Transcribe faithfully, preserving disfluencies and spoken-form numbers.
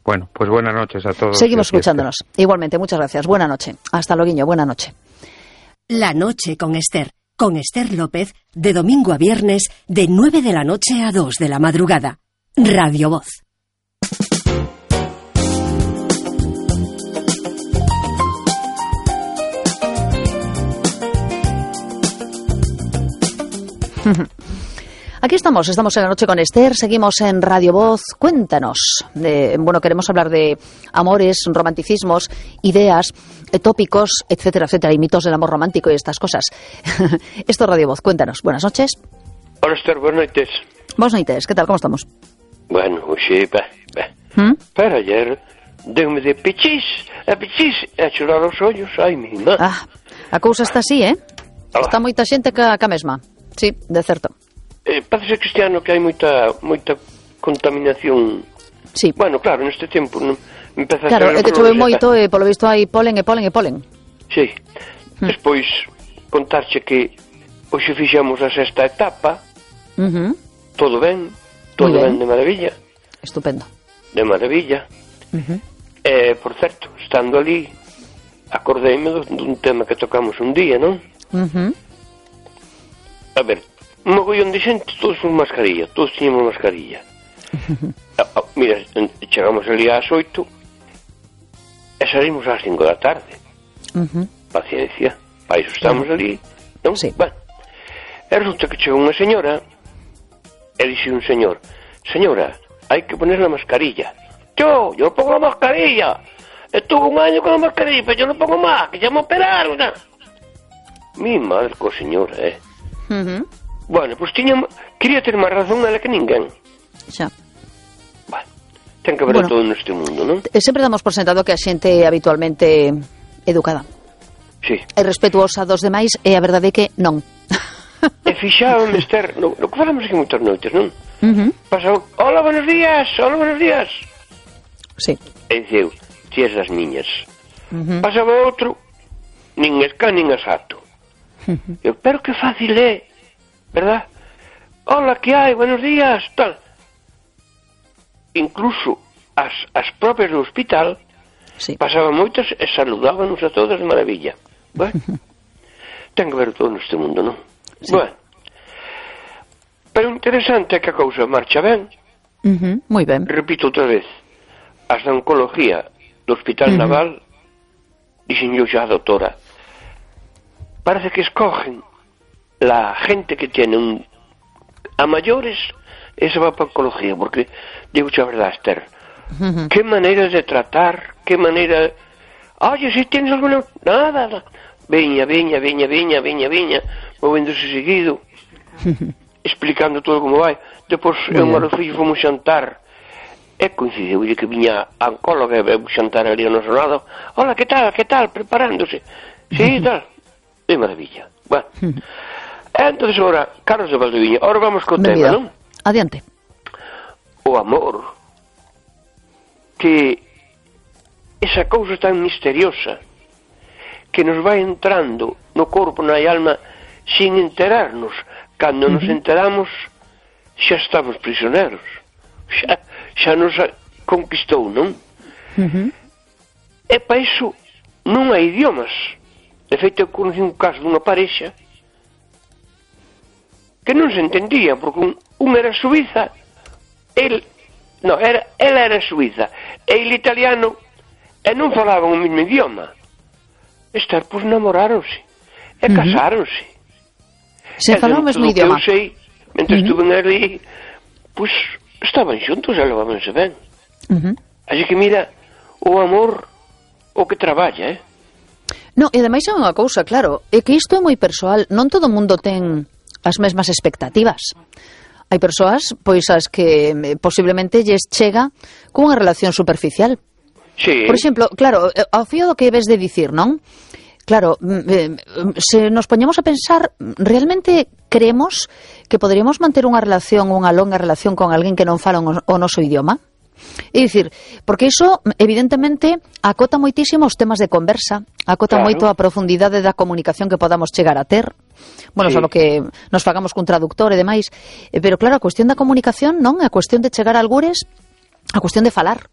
Bueno, pues buenas noches a todos. Seguimos escuchándonos. Igualmente, muchas gracias. Buena noche. Hasta luego, Guiño. Buena noche. La noche con Esther. Con Esther López, de domingo a viernes, de nueve de la noche a dos de la madrugada. Radio Voz. Aquí estamos, estamos en La Noche con Esther, seguimos en Radio Voz. Cuéntanos. De, bueno, queremos hablar de amores, romanticismos, ideas, tópicos, etcétera, etcétera, y mitos del amor romántico y estas cosas. Esto es Radio Voz, cuéntanos. Buenas noches. Hola, Esther, buenas noches. Buenas noches, ¿qué tal? ¿Cómo estamos? Bueno, oxe, bah, bah. ¿Mm? Pero ayer deu-me de pichis, a pichis, a chorar os ollos, ai, mi má. Ah, a cousa está así, eh? Ah. Está moita xente ca, ca mesma. Sí, de certo. Eh, parece que este ano que hai moita moita contaminación. Sí. Bueno, claro, neste tempo non empeza Claro, a ser é que chove moito e polo visto hai polen e polen e polen. Sí. Hmm. Despois contarche que hoxe fixemos a sexta etapa. Uh-huh. Todo ben, todo ben. ben de maravilla. Estupendo. De maravilla. Uh-huh. Eh, por certo, estando ali acordeime dun tema que tocamos un día, non? Uh-huh. A ver, un mogollón de xente, todos con mascarilla, todos tiñamos mascarilla. ah, ah, mira, chegamos ali ás oito e salimos ás cinco da tarde. Uh-huh. Paciencia, para iso estamos uh-huh. ali, non? Sí. Bueno, e resulta que chegou unha señora e dixe un señor: señora, hai que poner la mascarilla. Yo, yo pongo la mascarilla. Estuve un año con la mascarilla, pero yo no pongo más, que ya me operaron. ¿No? Mi madre co señora, eh. Uh-huh. Bueno, pois pues tiña, quería ter máis razón ela que ninguén. Xa. Bueno, ten que haber bueno, todo neste mundo, non? Sempre damos por sentado que a xente é habitualmente educada. Sí. E respetuosa dos demais, e a verdade é que non. E fixaban, Esther, no, no que falamos aquí moitas noites, non? Uh-huh. Pasaban, hola, buenos días, hola, buenos días. Sí. E diceu, tías das niñas. Uh-huh. Pasaba outro, nin esca, nin asato. Uh-huh. Eu, pero que fácil é, verdad? Hola, que hai? Buenos días, tal. Incluso as, as propias do hospital sí. pasaban moitas e saludábanos a todas de maravilla. Bueno, uh-huh. ten que ver todo neste mundo, non? Sí. Bueno, pero interesante é que a cousa marcha ben. Uh-huh. Moi ben. Repito outra vez, as da oncología do Hospital uh-huh. Naval dixen yo xa a doutora, parece que escogen la gente que tiene un a mayores, esa va para oncología, porque digo xa a verdade, Esther, uh-huh. qué manera de tratar, qué manera, oye, si tienes alguna, nada, nada. Veña, veña, veña, veña, veña, veña, movéndose seguido, explicando todo como vai. Depois, eu e o fillo fomos xantar, e coincidiu que viña a oncóloga e veu xantar ali ao noso lado. Hola, que tal, que tal, preparándose. Sí, tal. De maravilla. Bueno. Entonces, ahora, Carlos de Valdeviña, ahora vamos co tema, non? Adiante. O amor. Que esa cousa tan misteriosa que nos vai entrando no corpo, na alma, sin enterarnos. Cando uh-huh. nos enteramos, xa estamos prisioneros. Xa, xa nos conquistou, non? Uh-huh. E para iso non hai idiomas. De feito, eu conocí un caso dunha parexa que non se entendía, porque un, un era suiza, el, no, era, ela era suiza, e el italiano, e non falaban o mesmo idioma. Estar, pois, namoráronse e uh-huh. casáronse. Se falaban o mesmo idioma. Eu sei, mentre uh-huh. estuven ali, pois, estaban xuntos e levábanse ben. Uh-huh. Así que mira, o amor, o que traballa, eh? No, e ademais é unha cousa, claro, é que isto é moi persoal, non todo o mundo ten as mesmas expectativas. Hai persoas, pois, as que eh, posiblemente lles chega cunha relación superficial. Sí. Por exemplo, claro, ao fío do que ves de dicir, non? Claro, eh, se nos poñemos a pensar, realmente creemos que poderíamos manter unha relación, unha longa relación con alguén que non fala o noso idioma? É dicir, porque iso, evidentemente, acota moitísimo os temas de conversa, acota claro. moito a profundidade da comunicación que podamos chegar a ter, bueno, sí. Só que nos fagamos cun traductor e demais, pero claro, a cuestión da comunicación, non? A cuestión de chegar a algures, a cuestión de falar.